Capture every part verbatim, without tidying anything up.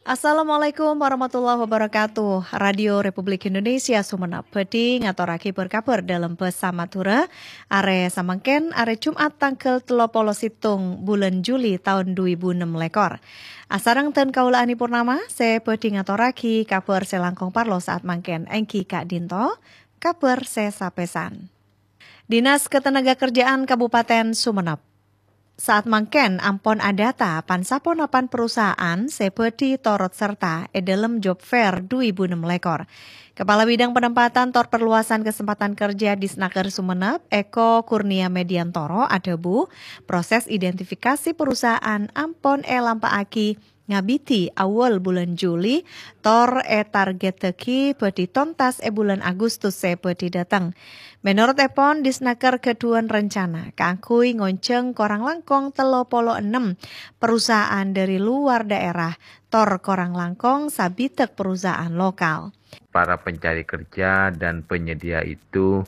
Assalamualaikum warahmatullahi wabarakatuh. Radio Republik Indonesia Sumenep bhâdhi ngatorraghi bâr-kabhâr dâlem bhâsa Madhurâ. Arè samangkèn, arè Jum'at tangghâl tello polo sèttong bulân Juli taon dhu èbu ennem lèkor. Asareng dân kaulâ Ani Purnama, sè bhâdhi ngatorraghi kabhâr sè langkong parlo sa'at mangkèn èngghi ka'dinto kabhâr sè sapèsan. Dinas Ketenagakerjaan Kabupaten Sumenep sa'at mangkèn ampon adata pan-saponapan perusahaan sè bhâdhi torot serta è dâlem Job Fair dhu èbu ennem lèkor. Kepala Bidang Penempatan tor Perluasan Kesempatan Kerja Disnaker Sumenep, Eko Kurnia Mediantoro, adhâbu, proses identifikasi perusahaan ampon èlampa'aghi ngabidhi awwâl bulân Juli, tor ètargèttaghi bhâdhi tontas è bulân Agustus sè bhâdhi dâteng. Mènorot èpon, Disnaker ghâdhuwân rencana kaangghuy ngonjhâng korang langkong tello polo ennem perusahaan dâri luar daerah, tor korang langkong sabidhâk perusahaan lokal. Para pencari kerja dan penyedia itu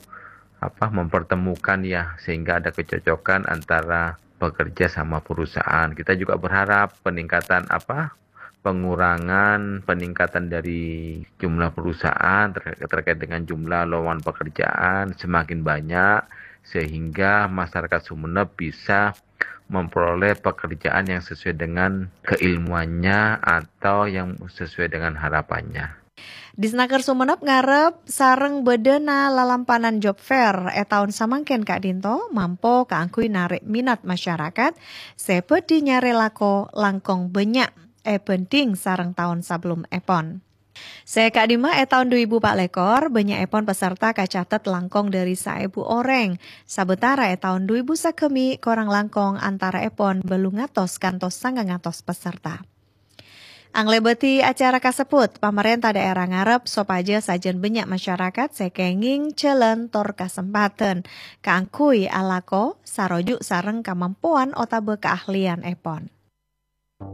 apa mempertemukan ya, sehingga ada kecocokan antara pekerja sama perusahaan. Kita juga berharap peningkatan apa pengurangan peningkatan dari jumlah perusahaan ter- terkait dengan jumlah lowongan pekerjaan semakin banyak, sehingga masyarakat Sumenep bisa memperoleh pekerjaan yang sesuai dengan keilmuannya atau yang sesuai dengan harapannya. Disnaker Sumenep ngarep sareng bâdâna lalampanan Job Fair è taon samangkèn ka'dinto mampo kaangghuy narè' minat masyarakat sè bhâdhi nyarè lako langkong bânnya' èbhândhing sareng taon sabellumèpon. Sè ka'dimma è taon dhu èbu pa' lèkor, bânnya'èpon peserta kacatet langkong dâri saèbu orèng, sabâtara è taon dhu èbu sagâmè' korang langkong antara'èpon bâllung atos kantos sangang atos peserta. Anglèbâdhi acara kasebbhut, pamarènta dhaèra ngarep sopajâ sajân bânnya' masyarakat sè kèngèng jhâlân tor kasempadhân kaangghuy alako saroju' sareng kamampowan otabâ kaahlianèpon.